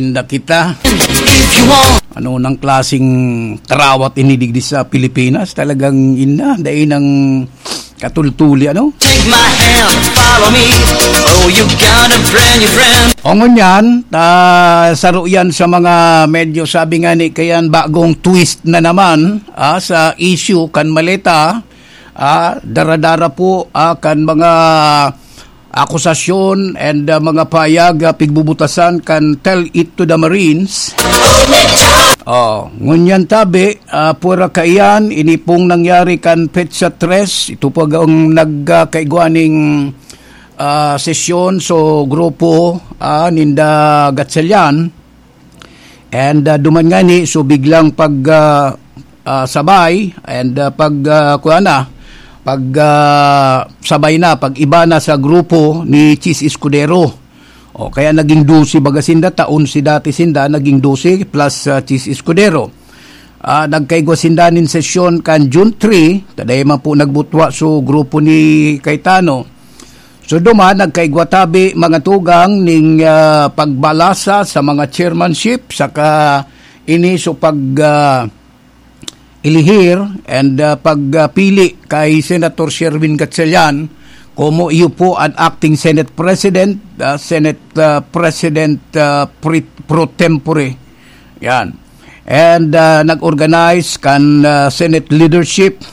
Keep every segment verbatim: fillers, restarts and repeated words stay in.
Inda kita. If you want. Ano nang klaseng tarawat ini digdi sa Pilipinas? Talagang inda, dai nang katultuli, ano? Take my hand, follow me. Oh, you got a brand new friend. O ngunyan, ta, saro yan sa mga medyo sabi nga ni kayan, bagong twist na naman, ah, sa issue kan maleta, ah, dara-dara po, ah, kan mga akusasyon and, ah, mga pahayag, ah, pigbubutasan kan Tell It to the Marines. Oh, ngunyan tabi, ah, pura kaiyan, ini pong nangyari kan petsa tres, ito po ang nagkaigwa ning, ah, sesyon, so grupo, ah, ninda Gatchalian. And, ah, duman ngani, so biglang pag, ah, ah, sabay, and, ah, pag, ah, kuha na, pag, ah, sabay na, pag iba na sa grupo ni Chiz Escudero. O, kaya naging dose baga sinda, ta onse dati sinda, naging dose plus, ah, Chiz Escudero. Ah, nagkaigwa sinda nin sesyon kan June three, ta dai man po nagbutwa so grupo ni Cayetano. So, duman, nagkaigwa tabi, mga tugang, ning, ah, pagbalasa sa mga chairmanship, saka ini so pag, ah, ilihir and, ah, pagpili kay Senator Sherwin Gatchalian komo iyo po an acting Senate President, ah, Senate, ah, President, ah, pre-, pro tempore. Yan. And, ah, nag-organize kan, ah, Senate leadership.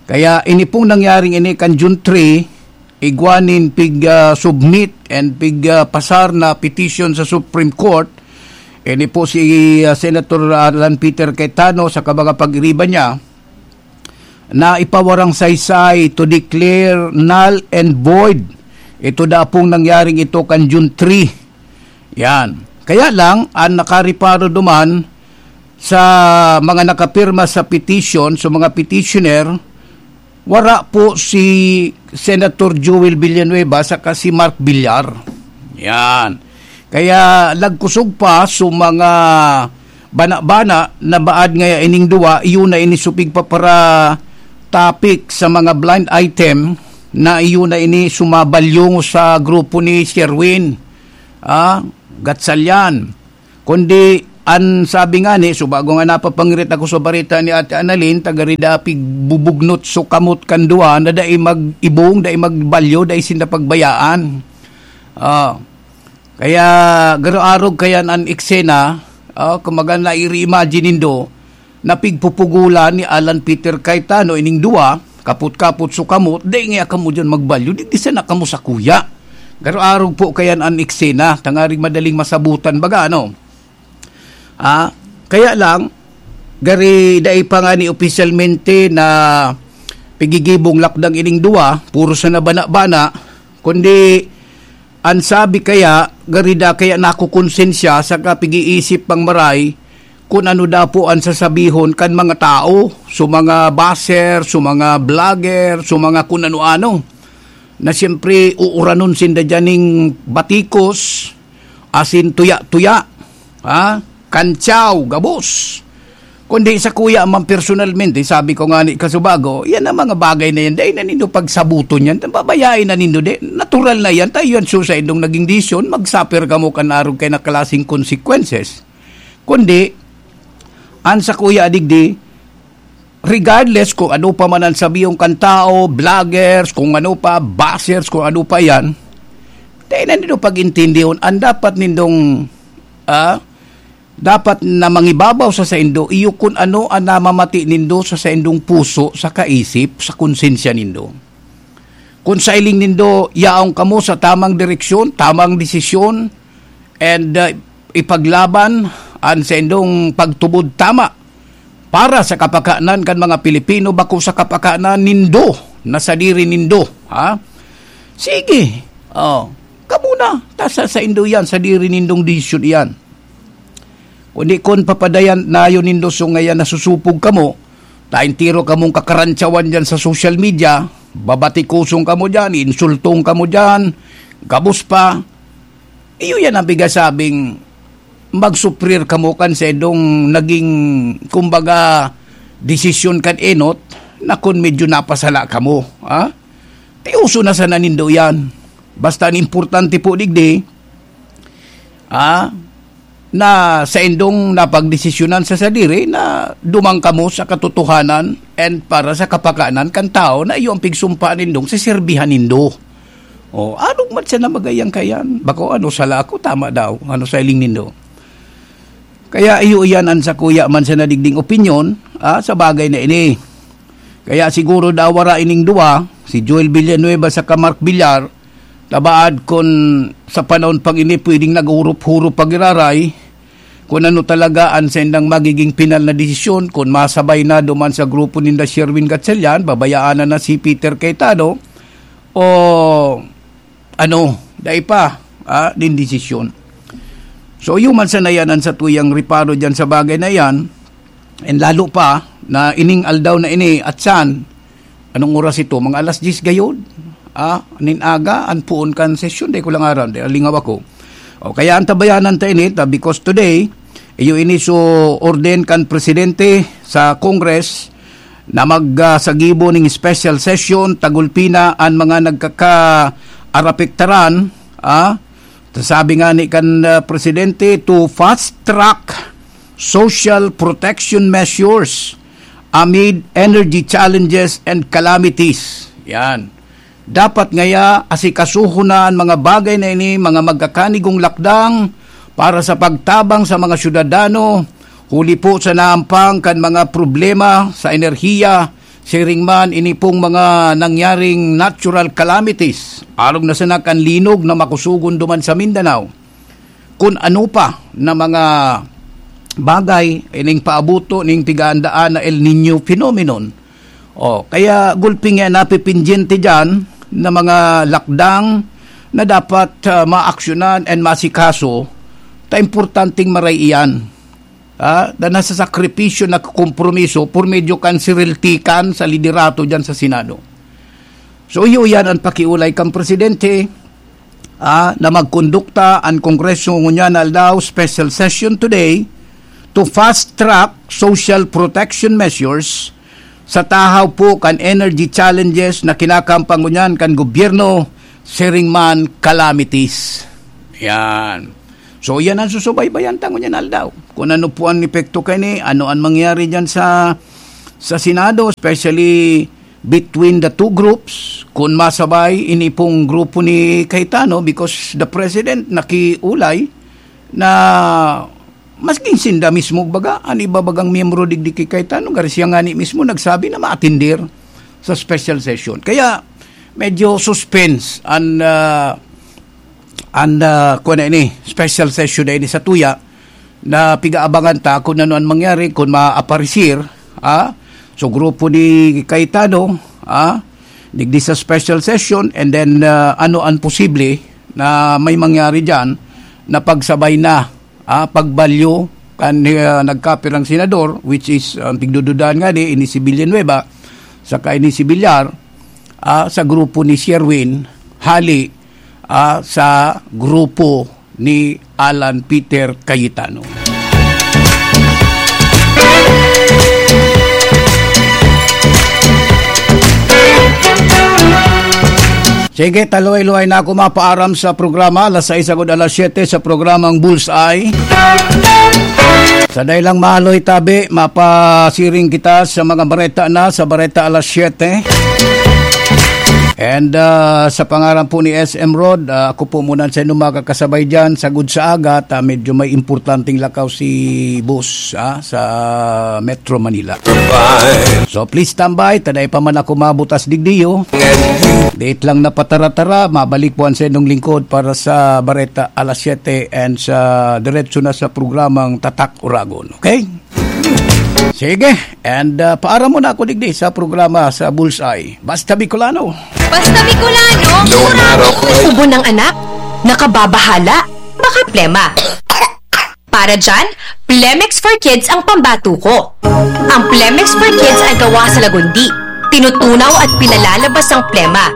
Kaya ini pong nangyaring ini kan June three, igwa nin pig, ah, submit and pig, ah, pasar na petition sa Supreme Court. Ini po si, ah, Senator Alan Peter Cayetano sa kabanga pag-iriba niya na ipawarang saysay to declare null and void. Ito da pong nangyaring ito kan June three. Yan. Kaya lang, ang nakareparo duman sa mga nakapirma sa petition, sa mga petitioner, wara po si Senator Joel Villanueva saka si Mark Villar. Yan. Kaya lagkusog pa sa mga bana-bana na baad ngaya ining duwa, iyo na ini supig pa para topic sa mga blind item na iyo na ini sumabalyong sa grupo ni Sherwin, ah, Gatchalian. Kundi an sabi ngani, so bago nga napapangirit ako sa bareta ni Ate Annalyn, taga Ridapig, bubugnot so kamot kan duwa na dai mag-ibong, dai magbalyo, dai sinda pagbayaan. Ah, kaya garo-arog kayan an eksena, ah, kumbaga na-i-reimagine nindo, na pigpupugulan ni Alan Peter Cayetano ining duwa, kapot-kapot so kamot, dai ngaya kamo diyan magbalyo, digdi sana kamo sakuya. Garo-arog po kayan an eksena, tangaring madaling masabutan baga, ano? Ah, kaya lang, gari dai pa ngani opisyalmente na pigigibong lakdang ining duwa, puro sana bana-bana, kundi an sabi kaya, gari da kaya nakukonsensya saka pig-iisip pang maray kun ano da po an sasabihon kan mga tao, so mga basher, so mga vlogger, so mga kun ano-ano, na siyempre uuranon sinda diyan ning batikos, asin tuya-tuya, ha? Kantsaw, gabos. Kundi sakuya man personalmente, sabi ko ngani kasubago, yan ang mga bagay na yan, dai na nindo pagsabuton yan, babayain na nindo, di, natural na yan, tayo yan, so sa indong naging desisyon, mag-suffer kamo kan arog kay na klaseng consequences. Kundi, an sakuya digdi, regardless kung ano pa man ang sabihon kan tao, vloggers, kung ano pa, bashers, kung ano pa yan, dai na nindo pag-intindihon, ang dapat nindong, ah, dapat na mangibabaw sa saindo, iyo kun ano an namamati nindo sa saindong puso, sa kaisip, sa konsensya nindo. Kun sailing nindo, yaon kamo sa tamang direksyon, tamang desisyon, and, uh, ipaglaban an saindong pagtubod tama para sa kapakanan kan mga Pilipino, bako sa kapakanan nindo, na sadiri nindo, ha? Sige. Oh, kamo na, ta sa saindo yan, sadiri nindong desisyon iyan. Kundi kun papadayan nayo nindo, so ngayan nasusupog kamo, ta entero kamong kakarantsawan diyan sa social media, babatikosong kamo diyan, insultong kamo diyan, gabos pa. Iyo yan ang pigasabing magsuprir kamo kan saindong naging, kumbaga, desisyon kan enot na kun medyo napasala kamo, ha? Tioso na sana nindo yan. Basta an importante po digdi, ha? na saindong napagdesisyonan sa sadiri na duman kamo sa katotohanan and para sa kapakanan kan tawo na iyo ang pigsumpaan nindong seserbihan nindo. O, arog man siya na magayang kayan. Bako, ano, sala ako, tama daw. Ano sa hiling nindo? Kaya iyo iyan an sakuya man sa nadigding opinyon, ah, sa bagay na ini. Kaya siguro daw wara ining duwa, si Joel Villanueva saka Mark Villar, tabaad kun sa panahon pang ini pwedeng nag-urop-hurop pagiraray, kun ano talaga an saindang magiging pinal na desisyon, kun masabay na duman sa grupo ninda Sherwin Gatchalian, babayaan na na si Peter Cayetano, o ano, dai pa, ah, nin desisyon. So, iyo man sana yan an satuyang reparo dyan sa bagay na yan, and lalo pa na ining aldaw na ini, at saan, anong oras ito? Mga alas diyes gayod? Ah, nin aga, an poon kan sesyon, dai ko lang aram, dai, lingaw ako. O, kaya antabayanan ta ini, ta, because today, iyo ini so ordain kan presidente sa Congress na mag, ah, sagibo ning special session, tagulpi na an mga nagkakaarapektaran, ah, sabi nga ni kan, ah, presidente, to fast track social protection measures amid energy challenges and calamities. Yan. Dapat ngaya asikasuhon na an mga bagay na ini, mga magkakanigong lakdang para sa pagtabang sa mga syudadano, huli po sa naampang kan mga problema sa enerhiya, siring man ini pong mga nangyaring natural calamities, arog na sana kan linog na makusogon duman sa Mindanao. Kun ano pa na mga bagay ining paabuto ning pigaandaan na El Niño phenomenon. O, kaya gulpi nga napipindyente diyan na mga lakdang na dapat, ah, maaksyonan and masikaso, ta importanteng maray iyan. Ah, na nasa sakripisyo, nagkokompromiso por medyo kan siriltikan sa liderato diyan sa Senado. So, iyo yan an pakiolay kan presidente, ah, na magkondukta an Kongreso ngunyan na aldaw, special session today, to fast track social protection measures sa tahaw po kan energy challenges na kinakampang ngunyan kan gobyerno, siring man calamities. Yan. So, yan ang susubaybayan ta ngunyan aldaw. Kung ano po ang epekto kaini, ano ang mangyari dyan sa, sa Senado, especially between the two groups, kung masabay, ini pong grupo ni Cayetano, because the president nakiulay na masking sinda mismo, baga, an iba bagang miyembro digdi ki Cayetano, gari siya ngani mismo nagsabi na maatender sa special session. Kaya, medyo suspense an, ah, an, ah, kuwan na ini, special session na ini sa tuya, na pigaabangan ta kung ano ang mangyari, kung maaparisir, ah, so grupo ni Cayetano, ah, digdi sa special session, and then, ah, ano ang posible na may mangyari dyan na pagsabay na, ah, pagbalyo kan, ah, nagkapirang senador, which is, ang pigdududahan nga di, ini si Villanueva, saka ini si Villar, ah, sa grupo ni Sherwin, hali, ah, sa grupo ni Alan Peter Cayetano. Sige, taluhay-luhay na ako mapaaram sa programa, alas sais agud alas siyete sa programang Bullseye. Sa dai lang maluoy tabi, mapasiring kita sa mga bareta na sa Bareta alas siyete. And, ah, sa pangaran po ni S M Rod, ah, ako po muna sa inyo makakasabay dyan, sagud sa aga, at, ah, medyo may importanteng lakaw si boss, ah, sa Metro Manila. So, please stand by, ta dai pa man ako mabutas digdiyo. Date lang na patara-tara, mabalik po ang sa inyong lingkod para sa Bareta alas siyete and sa diretso na sa programang Tatak Uragon. Okay? Sige, and, ah, paaram muna ako digdi sa programa sa Bullseye. Basta Bicolano. Basta Bicolano, no matter what. Ubo ng anak, nakababahala, baka plema. Para dyan, Plemex for Kids ang pambatuko. Ang Plemex for Kids ay gawa sa lagundi. Tinutunaw at pinalalabas ang plema.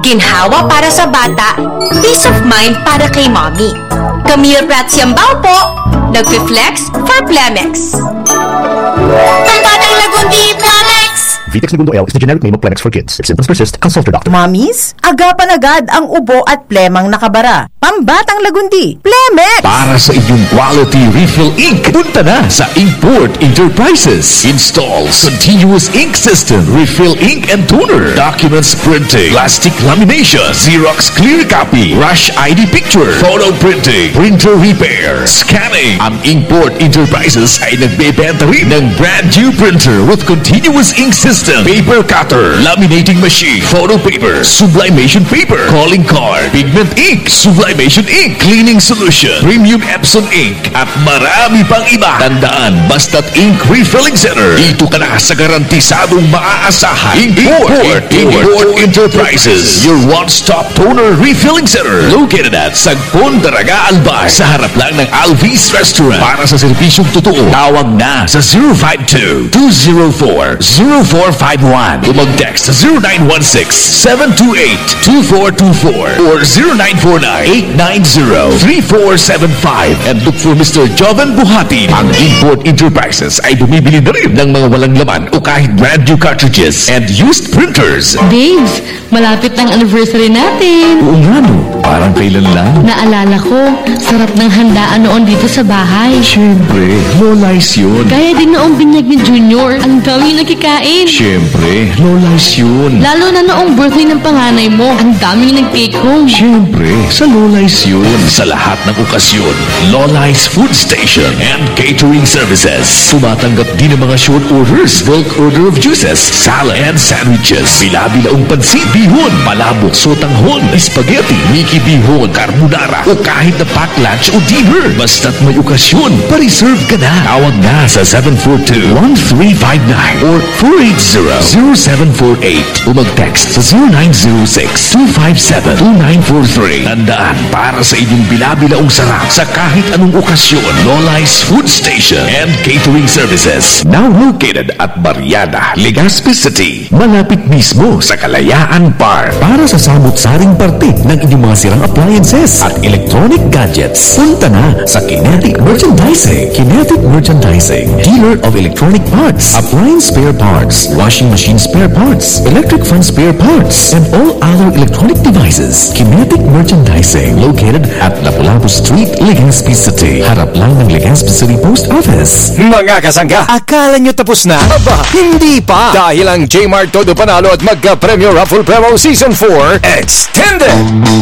Ginhawa para sa bata, peace of mind para kay mommy. Camille Prats Yambao po, nagfi-flex for Plemex. Pambatang lagundi, Plemex! Vitex Negundo L is the generic name of Plemex for kids. If symptoms persist, consult your doctor. Mommies, agapan agad ang ubo at plemang nakabara. Pambatang lagundi, Plemex! Para sa inyong quality refill ink, punta na sa Inkport Enterprises. Installs continuous ink system, refill ink and toner, documents printing, plastic lamination, Xerox clear copy, rush I D picture, photo printing, printer repair, scanning. Ang Inkport Enterprises ay nagbebenta rin ng brand new printer with continuous ink system, paper cutter, laminating machine, photo paper, sublimation paper, calling card, pigment ink, sublimation ink, cleaning solution, premium Epson ink, at marami pang iba. Tandaan, basta't ink refilling center, dito ka na sa garantisadong maaasahan. Import, Import Enterprises, your one-stop toner refilling center, located at Sagpon, Daraga, Albay, sa harap lang ng Alvis Restaurant. Para sa serbisyong totoo, tawag na sa zero five two, two zero four, zero four five one. O mag-text sa zero nine one six, seven two eight, two four two four or zero nine four nine, eight nine zero, three four seven five, and look for Mister Joven Buhatin. Ang Import Enterprises ay bumibili na rin ng mga walang laman o kahit brand new cartridges and used printers. Babes, malapit na ang anniversary natin. Oo nga no, parang kailan lang. Naalala ko, sarap ng handaan noon dito sa bahay. Siyempre, Lola's yun. Kaya din noong binyag ni Junior, ang dami yung nakikain. Siyempre, Lola's yun. Lalo na noong birthday ng panganay mo, ang daming nag-take home. Siyempre, sa Lola's yun. Sa lahat ng okasyon, Lola's Food Station and Catering Services. Tumatanggap din ng mga short orders, bulk order of juices, salad and sandwiches, bila-bilaong pansit, bihon, palabok, sotanghon, spaghetti, miki bihon, carbonara, o kahit na pack lunch o dinner. Basta't may okasyon, pa-reserve ka na. Tawag na sa seven four two, one three five nine or four eight zero, zero seven four eight o mag-text sa zero nine zero six, two five seven, two nine four three. Tandaan, para sa inyong bila-bilaong sarap sa kahit anong okasyon, Lola's Food Station and Catering Services. Now located at Barriada, Legazpi City. Malapit mismo sa Kalayaan Park. Para sa samot-saring parte ng inyong mga sirang appliances at electronic gadgets, punta na sa Kinetic Merchandising. Kinetic Merchandising, dealer of electronic parts, appliance spare parts, washing machine spare parts, electric fan spare parts, and all other electronic devices. Kinetic Merchandising, located at Lapu-Lapu Street, Legazpi City. Harap lang ng Legazpi City Post Office. Mga kasangga, akala nyo tapos na? Aba, hindi pa! Dahil ang J-Mart Todo Panalo at Magka-Premyo Raffle Promo Season four Extended!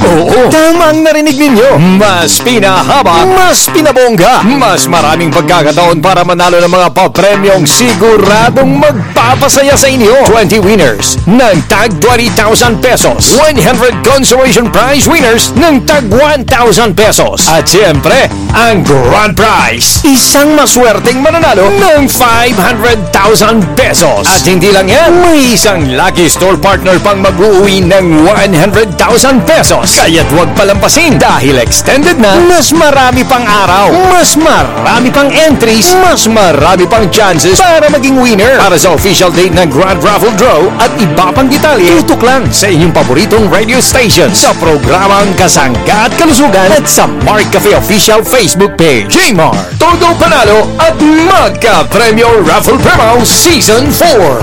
Oo, tama ang narinig ninyo! Mas pinahaba, mas pinabongga, mas maraming pagkakataon para manalo ng mga papremyong siguradong magpapasaya sa inyo. Twenty winners ng tag twenty thousand pesos, one hundred consolation prize winners ng tag one thousand pesos, at siyempre, ang grand prize, isang maswerteng mananalo ng five hundred thousand pesos. At hindi lang yan, may isang lucky store partner pang mag-uwi ng one hundred thousand pesos. Kaya't huwag palampasin dahil extended na, mas marami pang araw, mas marami pang entries, mas marami pang chances para maging winner. Para sa official date ng Grand Raffle Draw at iba pang detalye, tutok lang sa inyong paboritong radio station sa programang Kasangga at Kalusugan at sa Mark Cafe Official Facebook page. J-Mart, Todo Panalo at Magka Premyo Raffle Promo Season four.